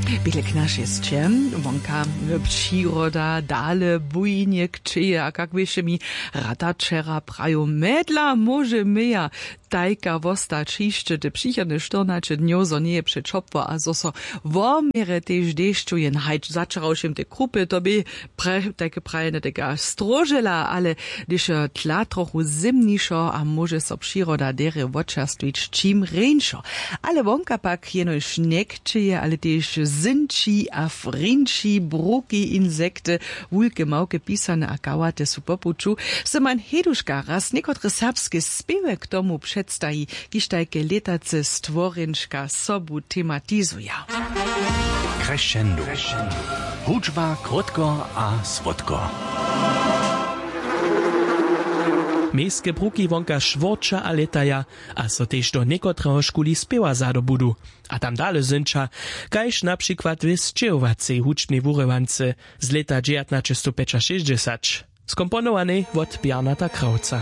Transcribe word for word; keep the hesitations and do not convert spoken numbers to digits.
Běle k našej sće wonka, přiroda dale bujnje kćeje a kak běše mi rata wčera praju, medla móže meja. Tajka wostać hišće te přichodne štyrnaće dnjow, zo njeje přećopło a zo so woměre tež dešću jen hajč začarawšim te krupy to bě pre tajke prajene tega stróžela, ale hdyž tla trochu zymnišo a móže so přiroda derje wočerstwić čim rjeńšo. Ale wonka pak jenož njekćeje ale tež zynči a frinči bruki insekty, wulke małke pisane a kałate su po puću. Syman heduška raz někotre serbske spěwy k tomu předstaji, kiž tajke lětace stworjenčka sobu tematizuja. Crescendo. Hudźba krótko a słodko. Mějske bruki wonka šwórča a lětaja, a so tež do někotreho škuli spěwa zadobudu a tam dale zynča, kaž na přikład w sćěhowacej hudźbnej wurywance z lěta dźewjatnaćestowpjećašěsćdźesać, skomponowanej wot bjarnata krawca.